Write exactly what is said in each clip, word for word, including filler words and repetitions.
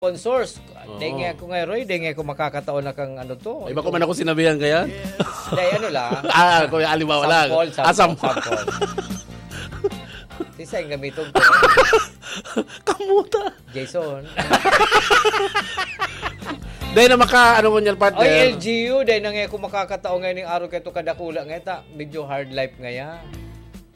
sponsors. Oo. Dai nga ako nga, Roy, dai nga ako makakataon na kang ano to. Iba ko man ako sinabihan kaya? Dai, ano lang. Ah, kuya, alibawa lang. Sample, Ah, sample, sample. sample. Sisay ang gamiton ko? Kamuta. Jason. Dai na maka, ano ko niyan, partner? Oy, L G U, dai na nga ako makakataon ngayon yung araw kaya to kadakula nga ta. Medyo hard life nga yan.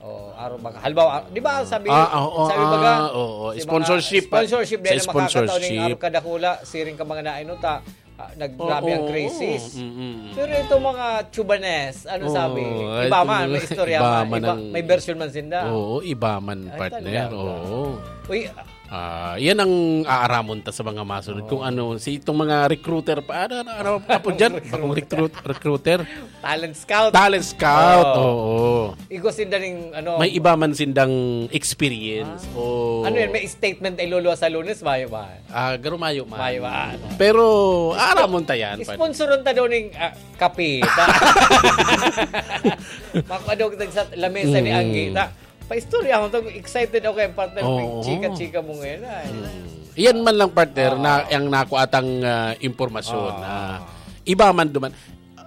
Oh, araw baga. Halimbawa, ah, di ba sabi, Ah, oo, sabi baga, ah, oo. si mga Sponsorship, ah. sponsorship, Sa dai na makakataon yung sponsorship. araw kadakula, siring ka mga nainota, ah, naggrabe Oo, ang oo. crisis. Mm, mm. Pero itong mga Chubanes, ano Oo, sabi? ay, Iba man, itong may istorya iba man, man iba, ang may version man sinda. Oo, iba man, Ay, partner. talaga. Oo. Uy, Ah, yan ang aaramon ta sa mga masunod. Oo. Kung ano, si itong mga recruiter pa, ano, ano, ano, apo dyan? Bakong recruit, recruiter? Talent scout. Talent scout, Oo. oo. Igo sinda ning, ano, May iba man sindang experience. Ah. O Ano yan? May statement ay luluwa sa Lunes? Mayo ba? Ah, garo mayo man. Mayo man. Pero, aaramon ta yan, pare. Sponsoron ta daw ning, ah, kape. Ta. Makadog sa lamesa ni Mm. Anggi. Ta. Paistorya mo to. Excited ako kay partner. Oo. Chika-chika mo ngayon, ay. Mm. Iyan man lang, partner, Oo. na, ang nakuatang, ah, impormasyon Oo. na iba man duman.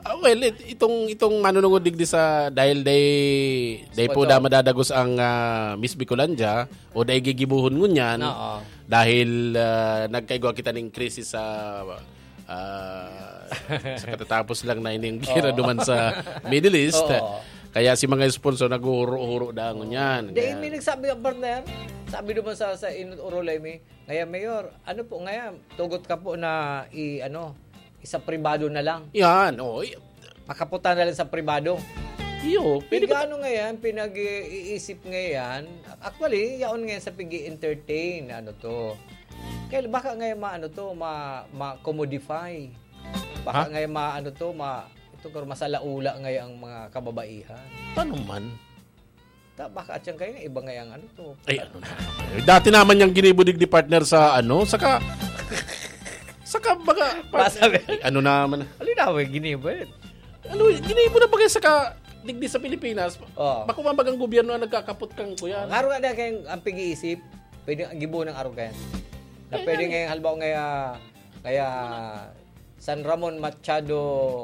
Ah, well, it-, itong, itong manunungod digdi sa, dahil day, day po Sponsor. da madadagos ang, ah, Miss Bicolandia, o day gigibuhon ngunyan, Oo. dahil, ah, nagkaigwa kita ning krisis sa, ah, sa katatapos lang na ining gera Oo. duman sa Middle East. Oo. Kaya si mga sponsor, naghuhuro-huro da ngunyan. Dahil Yan. may nagsabi, partner, sabi naman sa, sa Inot Orolay, may, "Ngaya, Mayor, ano po ngaya, tugot ka po na i-, ano, isa pribado na lang." Yan, oh, i- Makaputa na lang sa pribado. Iyo, pwede ba? Pigano ngayon, pinag-iisip ngayon. Actually, yaon ngayon sa pig-entertain, ano to. Kaya baka ngayon ma-, ano to, ma-, ma-commodify. Baka Ha? ngayon ma-, ano to, ma-, ito, pero masalaula ngayon ang mga kababaihan. Paano man? Ta, baka at yan kayo, iba nga yung ano to. Ay, ano na naman. Eh, dati naman yung ginibo digdi partner sa ano, saka, saka baga, part-, Masabi. Ay, ano naman. Alin na, may ginibo eh. Ano, ginibo na bagay saka digdi sa Pilipinas. Oo. Bako man bagang gobyerno ang nagkakapot kang kuya. Ngaro nga na kayong ang pag-iisip, pwede ang gibo ng arugan. Na Eh, pwede yan. Ngayon, halimbawa, kaya, kaya San Ramon Machado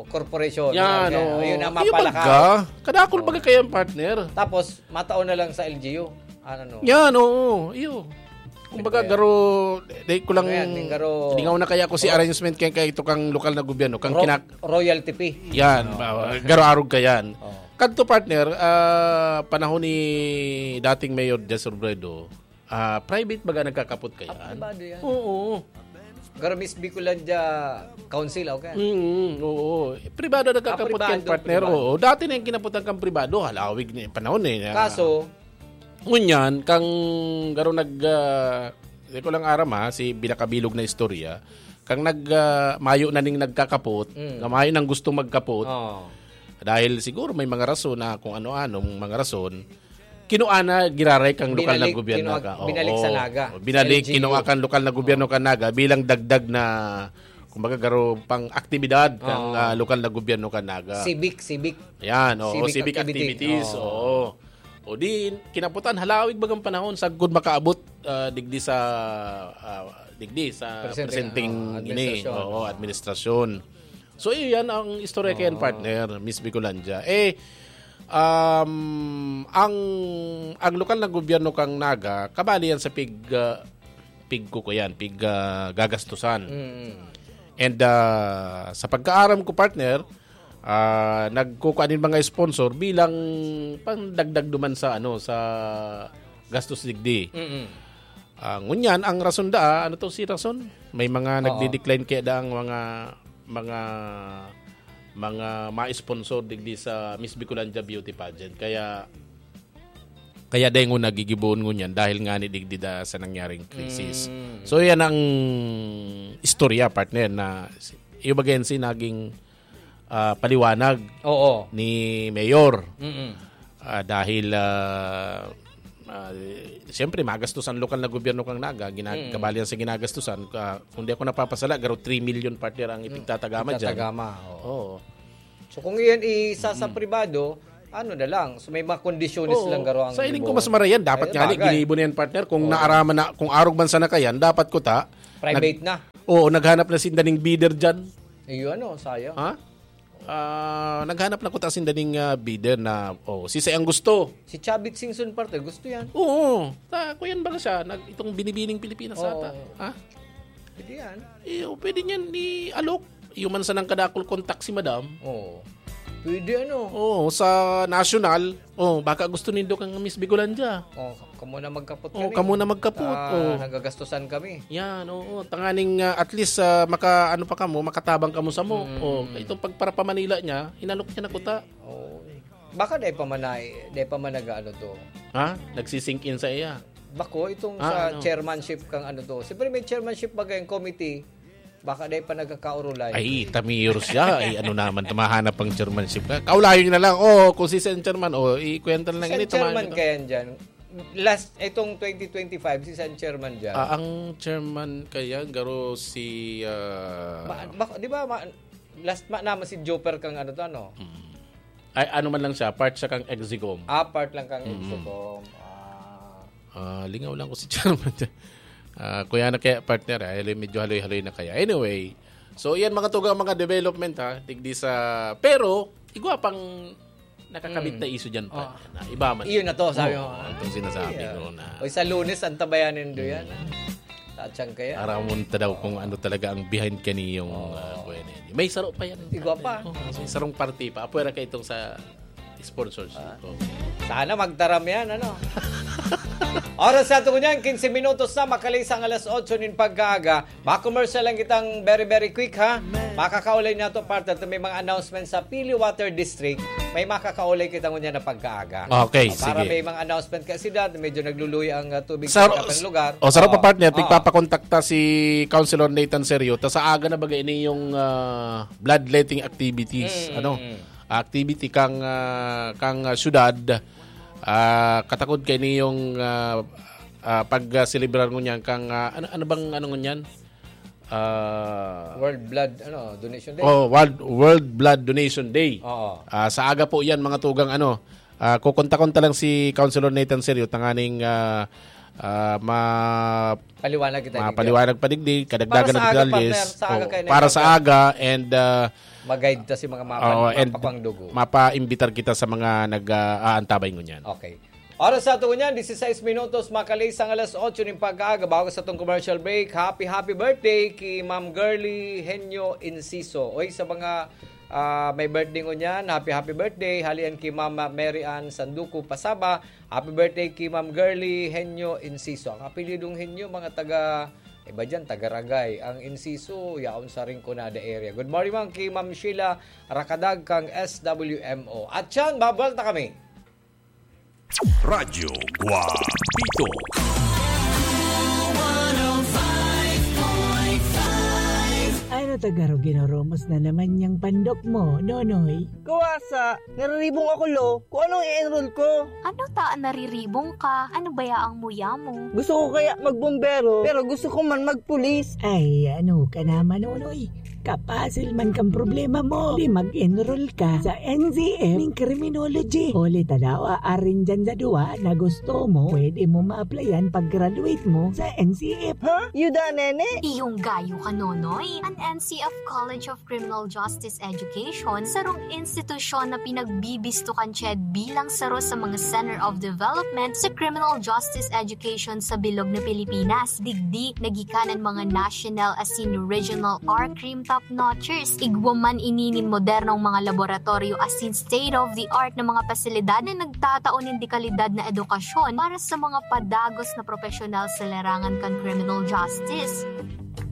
Corporation. Yan, Yan, oo. Yun ang Iyo mapalakaw. baga. Kadakol Oo. baga kaya ang partner. Tapos, matao na lang sa L G U. Ano, no? Yan, oo. Iyo. Kumbaga, Kaya garo, dahil ko lang, Ayan, yung garo. lingaw na kaya ko si Ro- arrangement kaya, kaya ito kang lokal na gobyerno, kang Ro-, kinak- royalty fee. Yan, Oo. ba, garo arog ka yan. Oo. Kadto, partner, ah, panahon ni dating Mayor Jess Robredo, ah, private baga nagkakapot ka Ah, yan? privado yan. Oo. Garo Miss Bicolandia Council, okay? Mm, oo. Pribado Ah, nagkakapot pribado, yan, partner. pribado. Oo. Dati na yung kinaputan kang pribado. Halawig na yung panahon eh. Na Kaso, Ngunyan, kang garo nag, ah, di ko lang aram ha, si binakabilog na istorya, kang nag, ah, mayo na ning nagkakapot, Mm. nga mayo nang gustong magkapot, Oo. dahil siguro may mga rason na kung ano-anong mga rason, kinua na giraray kang lokal na Binalik, gobyerno kinua-, ka. Oo. binalik sa Naga, Binalik, sa L G U. kinua kang lokal na gobyerno Oo. ka Naga bilang dagdag na, kumbaga, garo pang aktibidad kang, Oo. ah, lokal na gobyerno ka Naga. Civic, civic. Yan, oo, Civic civic activities. activities, Oo. oo. O di, kinaputan, halawig bagang panahon, sagkod makaabot, ah, digdi sa, ah, digdi sa Presente, presenteng ah, ini, administrasyon. oo, administrasyon. So, iyan ang istorya kayan, Oo. partner, Miss Bicolandia. Eh, um, ang, ang lokal na gobyerno kang Naga, kabali yan sa pig, ah, pig kuko yan, pig, ah, gagastusan. Mm. And, ah, sa pagkaaram ko, partner, ah, nagkukuha nin mga sponsor bilang pandagdag duman sa, ano, sa gastos digdi. Mm. Ah, ngunyan, ang rason da, ano to si rason? May mga Oo. nagdi-decline kaya da ang mga, mga, mga ma-sponsor digdi sa Miss Bicolandia Beauty Pageant. Kaya, kaya dengon nagigiboon ngunyan dahil nga ni digdi da sa nangyaring krisis. Mm. So, yan ang istorya, partner, na iyo baga yan si naging, ah, paliwanag Oo. ni Mayor. Mm-mm. Ah, dahil, ah, ah, siyempre, magastos ang lokal na gobyerno kang Naga, ginag-, Mm. kabali yan sa ginagastusan. Ah, kung di ako napapasala, garo three million, partner, ang Mm. ipigtatagama dyan. Ipigtatagama, oo. Oo. So, kung iyan isa sa Mm. pribado, ano na lang, so may mga kondisyones Oo. lang garo ang Sa ining gibo. ko mas marayan, dapat Ayun, nga ni, bagay. ginibo na yan, partner. Kung Oo. naaraman na, kung arog man sana kayan, dapat ko ta, Private na. Oo, naghanap na sinda ning bidder dyan. Ayun, ano, sayang. Ha? Ah, naghanap na kuta sinda ning, ah, bidder na, oh, si ang gusto. Si Chavit Singson, partner, gusto yan. Oo. Ta, kuyan baga siya, nag, itong Binibining Pilipinas Oo. ata. Ha? Pwede yan. Eh, oh, pwede niyan ni alok. Yung man sanang kadakol kontak si madam. Oo. Pwede, ano? Oo, sa national. Oh, baka gusto nindo kang Miss Bigolandia. Oh, kamo na magkapot Oh, kami. kamo na magkapot. Ah, Oh. nagagastusan kami. Yan, oo. Tanganing, ah, at least, ah, maka, ano pa kamo, makatabang kamo sa mo. Mm. Oh, itong pagparapamanila niya, hinalok niya na kuta. Oh. Baka dai pa man na, dai pa man nag-ano to. Ha? Nagsisink in sa iya? Bako, itong Ah, sa ano? chairmanship kang ano to. Siyempre may chairmanship ba kayong committee? Baka dai pa nagkakaurulay. Ay, tamiyor siya. Ay, ano naman, tumahanap ang chairmanship ka. Kaulayon niyo na lang. Oh, kung si Sen Chairman, oh, ikwenta na lang Sen ini, tumahan Chairman niyo to. kaya dyan. Last, itong twenty twenty-five, si Sen Chairman dyan. Ah, ang chairman kaya, garo si, ah, Ma-, bak-, di ba, ma-, last ma-, naman si Joper kang ano to, ano? Mm. Ay, ano man lang siya, part siya kang Execom. Ah, part lang kang Mm. Execom. Ah. Ah, lingaw lang ko si chairman dyan. Ah, kuya na kaya, partner, ah, medyo haloy-haloy na kaya. Anyway, so yan mga tugang mga development, ha, digdi sa, pero igwa pang nakakabit Mm. na iso dyan, Oh. partner, na iba man. Iyon na to, sabi Oo, mo. Itong sinasabi Yeah. ko na Oy, sa Lunes, ang tabayanin do yan, Mm. ah. Tatsang kaya. Aramon ta daw kung ano talaga ang behind kaniyong, Oo. ah, kuya na yan. May saro pa yan. Igwa pa. Oo, may sarong parte pa. Apwera ka itong sa sponsorship. Ah. Oo. Sana magtaram yan, ano? Oras sa ato ngunyan, quince minutos na, makalisang alas otso nin pagkaaga. Ma-commercial lang kitang very, very quick, ha? Makakaulay na to, partner. Ito may mga announcement sa Pili Water District. May makakaulay kita ngunyan na pagkaaga. Okay, Para sige. may mga announcement kasi dati, medyo nagluluya ang, ah, tubig Sa sa ro-, katang lugar. o, sa ro pa, Oo. partner, Oo. tigpapakontakta si Councilor Nathan Serio. Ta sa aga na bagay ini yung, ah, bloodletting activities, Mm, ano? mm. Activity kang, ah, kang, ah, syudad. Ah, katakod kay ini yung, ah, ah, pag, ah, selebrar ngunyan kang, ah, ano, ano bang ano ngunyan? Ah, World Blood, ano, Donation Day. Oh, World, World Blood Donation Day. Oo. Ah, sa aga po yan, mga tugang, ano, ah, kukonta-konta lang si Councilor Nathan Serio, tanganing, ah, ah, ma-, Paliwanag kita, mapaliwanag pa digdi, kadagdagan Para sa ng aga, detalles. partner, sa aga Oh, kayo na para sa ibaga. aga and, ah, Ma-guide ta si mga mapa-, Oo, and mapapangdugo. mapaimbitar kita sa mga nag, ah, aantabay ngunyan. Okay. Oras sa ato ngunyan, dieciséis minutos, makalisang alas otso nin pagkaaga. Bago sa atong commercial break, happy, happy birthday ki Ma'am Girly Henyo Inciso. Oy, sa mga, ah, may birthday ngunyan, happy, happy birthday. Halian ki Ma'am Mary Ann Sanduco Pasaba. Happy birthday ki Ma'am Girly Henyo Inciso. Ang apelyidong Henyo, mga taga, iba dyan, taga Ragay. Ang Inciso, yaon sa Rinconada area. Good morning, ma'am, ki Ma'am Sheila Rakadag kang S W M O. At yan, babalik na kami. Radyo Guapito. Ano ta garo ginoromos na naman yang pandok mo, Nonoy? Kawasa, nariribong ako, lo. Kung anong i-enroll ko? Ano ta an nariribong ka? Ano baya ang muya mo? Gusto ko kaya magbombero, pero gusto ko man magpulis. Ay, ano ka naman, Nonoy? Kapasil man kang problema mo. Di mag-enroll ka sa N C F ning criminology. Huli ta daw, aarin dyan sa duwa na gusto mo, pwede mo ma-applyan pag-graduate mo sa N C F. Ha? Yuda, nene? Iyong gayo ka, Nonoy. An N C F College of Criminal Justice Education, sarong institusyon na pinagbibisto kan CHED bilang saro sa mga Center of Development sa Criminal Justice Education sa bilog na Pilipinas. Digdi, nagikanan mga national asin regional R-Crime top notchers. Igwa man ini nin modernong mga laboratoryo asin state-of-the-art na mga pasilidad na nagtatao nin dekalidad na edukasyon para sa mga padagos na propesyonal sa larangan kan criminal justice.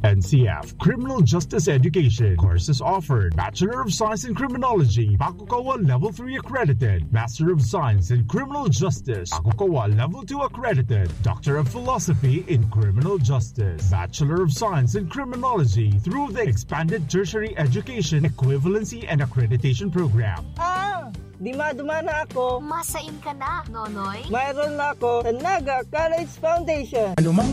N C F, Criminal Justice Education. Courses offered: Bachelor of Science in Criminology, Bakukawa Level three accredited. Master of Science in Criminal Justice, Bakukawa Level two accredited. Doctor of Philosophy in Criminal Justice, Bachelor of Science in Criminology through the Expanded Tertiary Education Equivalency and Accreditation Program. Ah! Di madumana ako. Masain ka na, Nonoy? Mayroon na ako sa Naga College Foundation. Anumang